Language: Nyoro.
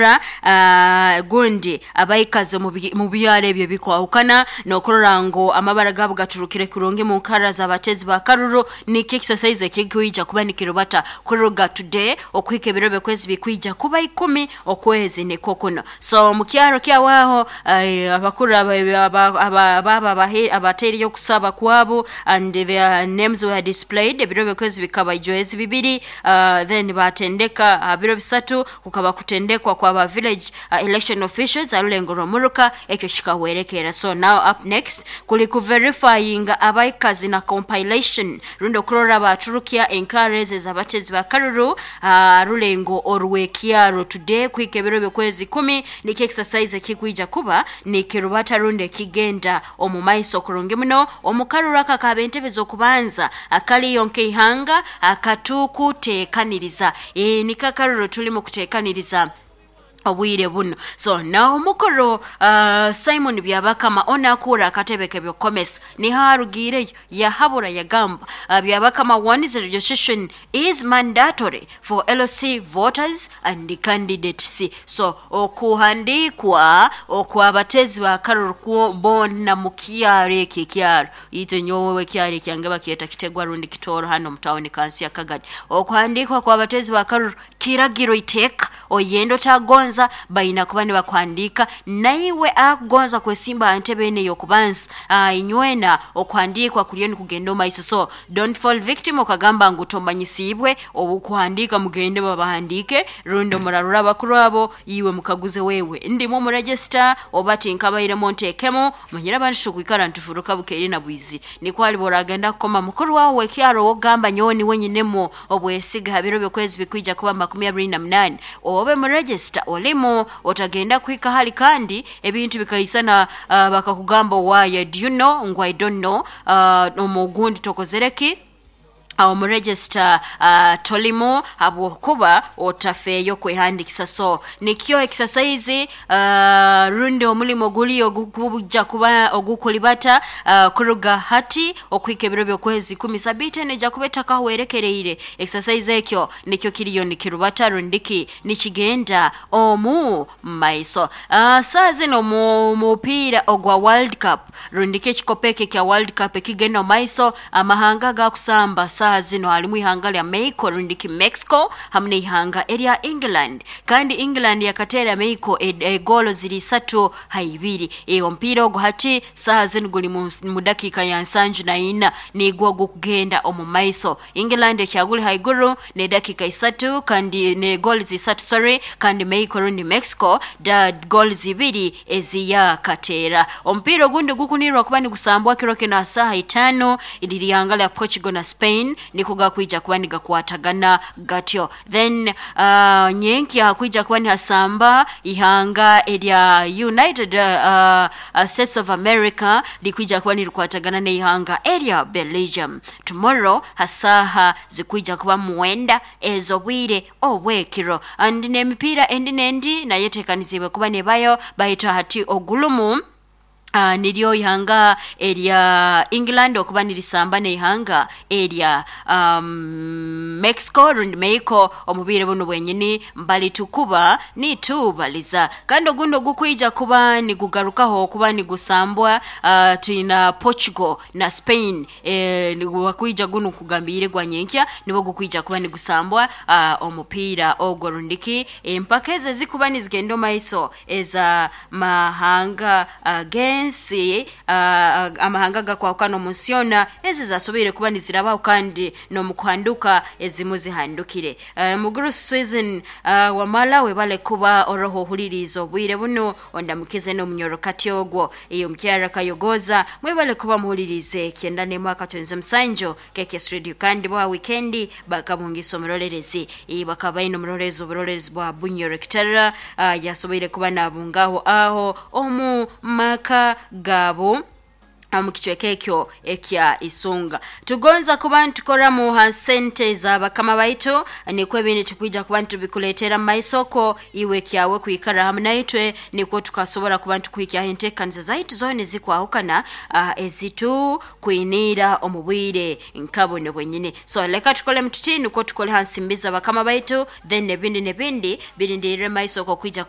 Okuhabura gundi abaikazi mu byaro ebyo bikwahukana n'okurora ngu amabara gaabo gaturukire kurungi mu nkara z'abatezi ba karuru. Nikyo exercise ekikwija kuba nikirubata kuruga today okuhika ebiro byokwezi bikwija kuba 10 okwezi nikwo kuno. So mu kyaro kyawaho, abakuru baba abateereyo okusaba kwabo and their names were displayed. Ebiro byokwezi bikaba ijwezi 2, then batendeka biro 3 kukaba kutendekwa kwaba village election officials arulengo rw'omuruka, ekyo kikahwerekera. So now up next kuli kuverifyinga abaikazi na compilation rundi okurora baturukya enkara ezo ez'abatezi ba karuru rulengo orw'ekyaro. Today kuhika ebiro byokwezi 10 nikyo exercise ekikwija kuba nikirubata rundi ekigenda omu maiso kurungi muno omu karuru aka akaba entebe z'okubanza akaliyo nk'eihanga akatukuteekaniriza. Niko akaruru tulimu kuteekaniriza obwire buno. So naho omukuru Simon Byabakama onakuura akatebe k'ebyokukomesa niho arugiireyo yahabura yagamba, Byabakama warns registration is mandatory for LC voters and candidates. So okuhandikwa okw'abatezi ba karuru kwo boona mu kyaro ekyo, ekyaro itwe nyowe ekyaro ekyange bakyeta Kitegwa rundi Kitooro hano mu tawuni kansi ya Kagadi. Okuhandikwa kw'abatezi ba karuru kiragiro, iteeka, oyenda otagonza baina kuba nibakuhandika. Naiwe akugonza kwesimba aha ntebe eno ey'okubanza, inywena okuhandikwa kuriyo nikugenda omu maiso. So don't fall victim okagamba ngu tomanyisiibwe obukuhandika. Mugende babahandike rundi omurarura abakuru abo, iwe mukaguze, wewe ndimu omu register oba tinkabairemu nteekemu. Manyire abantu tukwikara nitufuruka bukeire na bwizi, nikwo aliba oragenda kukoma mukuru wawe w'ekyaro wogamba nyowe niwe nyinemu obwesiga ha biro byokwezi bikwija kuba 28 obe mu register olimu, otagenda kuhika hali kandi ebintu bikaisana, bakakugamba, "Why do you know?" Ngu, "I don't know." Omugundi tokozere ki omu register, tolimu habwokuba otafeeyo kwehandikisa. So nikyo exercise rundi omulimo guli ogukujja kuba ogukulibata kuruga hati okuhika ebiro byokwezi 10, sabiiti eno ejja kuba etakahwerekereire. Exercise ekyo nikyo kiriyo nikirubata rundiki nikigenda omu maiso. Saa zino mu mupiira ogwa World Cup rundiki ekikopo ekyo ekya World Cup ekigenda omu maiso, amahanga gakusamba saa zino halimu ihanga lya Mexico rundiki Mexico hamu n'ihanga erya England, kandi England yakateera Mexico egolo ziri 3-2. Omupiira ogwo hati saaha zino guli mu dakiika ya 74, nigwo gukugenda omu maiso. England ekyaguli haiguru n'edakiika 3 kandi ne goals 3, sorry, kandi Mexico rundi Mexico da goals 2 eziyakateera. Omupiira ogundi gukunirwa kuba nigusambwa kiro kino ha saaha 5, liri ihanga lya Portugal na Spain, niko gakwija kuba nigakwatagana gatyo. Then nyenkya hakwija kuba nihasamba ihanga erya United States of America likwija kuba nirikwatagana n'ihanga erya Belgium tomorrow hasaha zikwija kuba 9 ez'obwire obwekiro. And n'emipiira endi n'endi nayo eteekanizibwe kuba nebayo, baitu hati ogulumu niryo ihanga erya England okuba nirisamba n'ihanga erya Mexico rundi Mexico omu bwire buno bwenyini mbalitukuba nitubaliza. Kandi ogundi ogukwija kuba nigugarukaho okuba nigusambwa, twina Portugal na Spain, wakwija gunu kugambiire gwa nyenkya nibwo gukwija kuba nigusambwa omupiira ogwo rundiki empaka ezo ezikuba nizigenda omu maiso eza mahanga gensi, amahanga gakwahukana omu nsi yoona, ezo zasoboire kuba nizirabaho kandi n'omu kuhanduka ezimu zihandukire. Muguru Susan wamala webale kuba oroho ohuliriiza obwire buno, ondamukize n'omunyorokati ogwo iyo mukyara Kayogoza. Mwebale kuba muhuliriize 91.7 KKS Radio. Kandi bwa wikendi bakabungisa omurolerezi, bakaba baine omurolerezi, oburolerezi bwa Bunyoro Kitara, yasoboire kuba nabungaho aho omu maka gaabo omu kicweka ekyo ekya Isunga. Tugonza kuba nitukoramu ha sente za bakama baitu, nikwo ebindi tukwija kuba nitubikuleetera mu maisoko. Iwe kyawe kwikara hamu naitwe nikwo tukasobora kuba nitukuhikyaho enteekaniza zaitu zoona ezikwahukana ezitukwiniira omu bwire nka buno bwenyini. So leka tukole mututi nikwo tukole ha nsimbi za bakama baitu, then ebindi nebindi birindirire maisoko kwija.